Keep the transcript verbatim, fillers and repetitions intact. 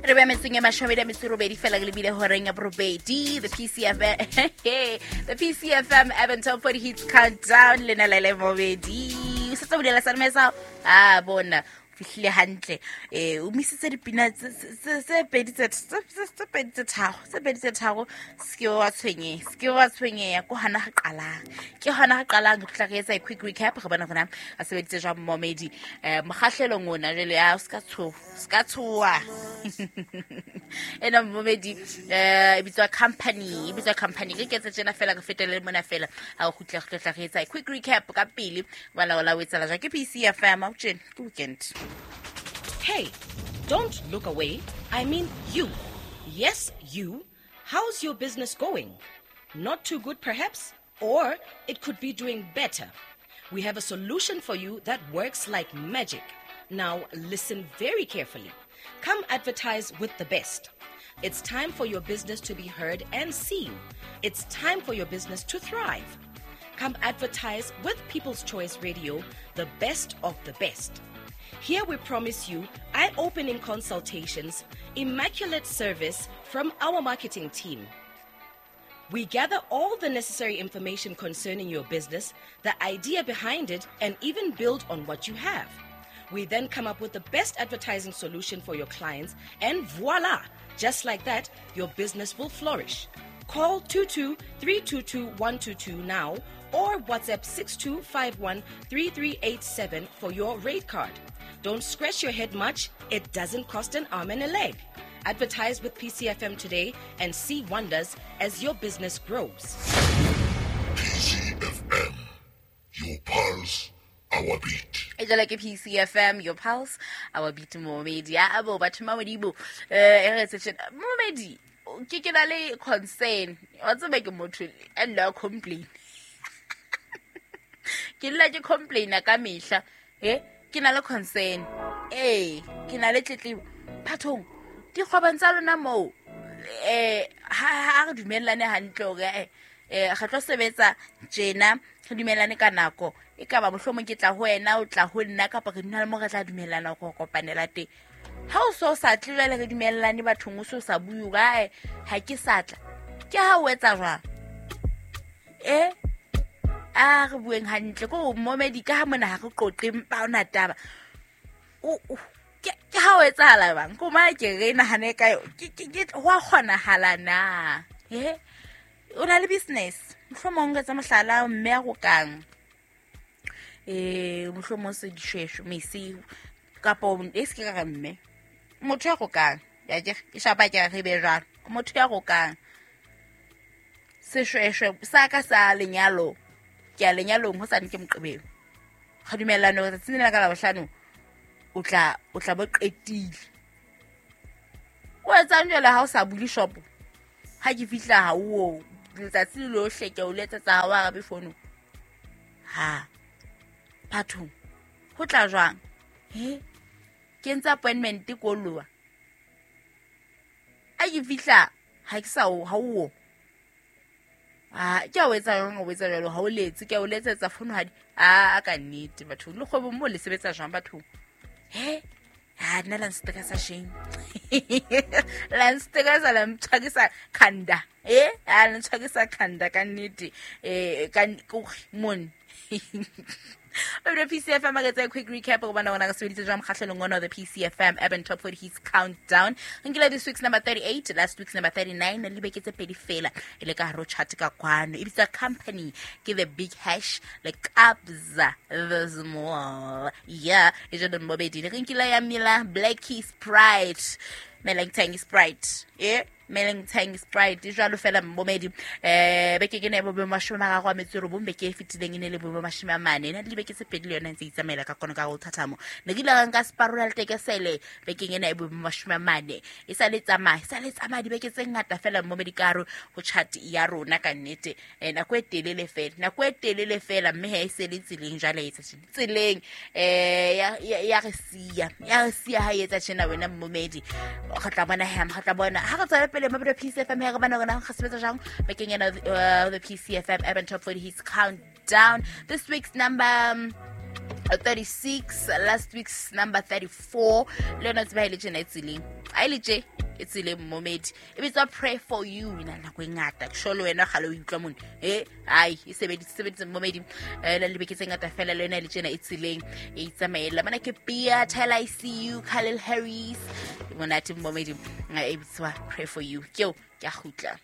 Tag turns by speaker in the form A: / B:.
A: Re be metseng e mashome a metso e robedi fela re lebile horeng ya borobedi. The P C F M, the P C F M Urban Top forty Hits Countdown le na le le mobedi o setse bolela sa mesa a bona fihlile hantle. eh o misitse dipina tse tse pedi tse tse pedi tse tharo, tse pedi tse tharo. Se ke wa tshwenyeha, se ke wa tshwenyeha. Ko hana re qalang, ke hona re qalang. Re tla re etsa a quick recap, re bona hore a sebeditse jwang momedi eh mokgahlelong ona jwale. Ya o ska tshoha, ska tshoha. Ena momedi eh e bitswa Company, e bitswa Company. Ke ketse tjena fela, re fetele mona fela. Ha o kgutla, re tla re etsa a quick recap ka pele bana ola o etsala jwang. Ke P C F M a tjena, ke weekend.
B: Hey, don't look away. I mean you. Yes, you. How's your business going? Not too good, perhaps? Or it could be doing better. We have a solution for you that works like magic. Now, listen very carefully. Come advertise with the best. It's time for your business to be heard and seen. It's time for your business to thrive. Come advertise with People's Choice Radio, the best of the best. Here we promise you eye opening consultations, immaculate service from our marketing team. We gather all the necessary information concerning your business, the idea behind it, and even build on what you have. We then come up with the best advertising solution for your clients, and voila! Just like that, your business will flourish. Call two two three two two one two two now or WhatsApp six two five one three three eight seven for your rate card. Don't scratch your head much, it doesn't cost an arm and a leg. Advertise with P C F M today and see wonders as your business grows.
C: P C F M, your pulse, our beat.
A: E jwale ke P C F M, your pulse, our beat. Momedi a bo batho ma modimo eh e re tse tjena momedi ke ke na le concern wa tseba ke motho a nna complain, ke nna ke complaina ka mehla. E ke na le concern, ee ke na le tletlebo bathong dikgwebong tsa lona moo. eh ha ha re dumellane hantle hore eh eh re tlo sebetsa tjena, re dumellane ka nako e ka ba mohlomong ke tla ho wena, o tla ho nna, kapa re dula le mo re tla dumellana go kopanela teng. Ha o so sa tle jwale re dumellane bathong, o so sa bue hore ae ha ke sa tla, ke ha o etsa jwang? E a re bueng hantle ko momedi ka ha mona ha re qoqe mpa ona taba. O o- ke ke ha o etsahala bang ko ma ke re nahane ka yo ke ke ke ho a kgonahala na? E o na le business, mohlomong re tsa mohlala mme a rokang eh mohlomong se dishweshwe mese kapo e se ke ka re mme motho ya rokang ya ke e shapa ke re be jwalo motho ya rokang seshweshwe sa ka sa lenyalo, ke a lenyalong ho sane ke Moqebelo, ga dumellane hore tsatsing lena ka Labohlano o tla o tla bo qetile. O etsang jwale ha o sa bule shopo? Ha ke fihla ha o letsatsi le lohle ke o letsetsa, ha o arabe fono. Ha bathong ho tla jwang? He ke entse appointment ko loa a ke fihla ha ke sa o ha o a ke a o etsa jwang? O etsa jwalo ha o letse, ke a o letsetsa fono ha di a ka nnete. Bathong le kgwebong moo le sebetsa jwang bathong? He ha nna la nstressa shame, la nstressa, la ntshwarisa khanda. Eh a la ntshwarisa khanda ka nnete. Eh ka mone o P C F M a etsa quick recap go bona gona re sebeditse jwang mokgahlelong ona, the P C F M Urban Top forty Hits Countdown. Re nkile this week's number thirty-eight, last week's number thirty-nine, le beke tse pedi fela e le ka hare ho chart ka kwano. E bitswa Company, ke the Big Hash le Kabza the Small. Yeah, e jalo mobedi re nkile ya Mila Blackie Sprite Meleng Tang Sprite, yeah, Meleng Tang Sprite e jwalo fela momedi. eh beke ke ne bo bo mashome a mararo a metso e robong, beke e fetileng e ne le bo bo mashome a mane. E na le dibeke tse pedi le yona e ntse e itsamaela ka kono ka go thathamo. Ne ke ile ka nka separola le tekesele bekeng ena e bo bo mashome a mane. E sa le tsamaya, e sa le tsamaya dibeke tse ngata fela momedi ka hare ho chart ya rona ka nnete. eh nako e telele fela, nako e telele fela, mme ha e se le tseleng jwale e etsa tjena tseleng eh ya ya ya re siya, ya re siya ha e etsa tjena wena momedi. Re tla bona hem, re tla bona ha re tswela pele mabelo P C F M he re bona rona re sebetsa jang bekeng ena, uh, the P C F M Urban Top forty Hits Countdown. This week's number um, thirty-six, last week's number thirty-four. Le yona tseba e le tjena e tseleng, a e le tje e tseleng momedi, e bitswa Pray For You. E na le nako e ngata, ke sure le wena kgale o utlwa mone. E ai e sebeditse sebeditse momedi, eh le lebeke tse ngata fela, le yona e le tjena e tseleng e itsamaela. Mona ke Pia, Tyler I C U, Khalil Harris, monate momedi, e bitswa Pray For You. Ke eo, ke a kgutla.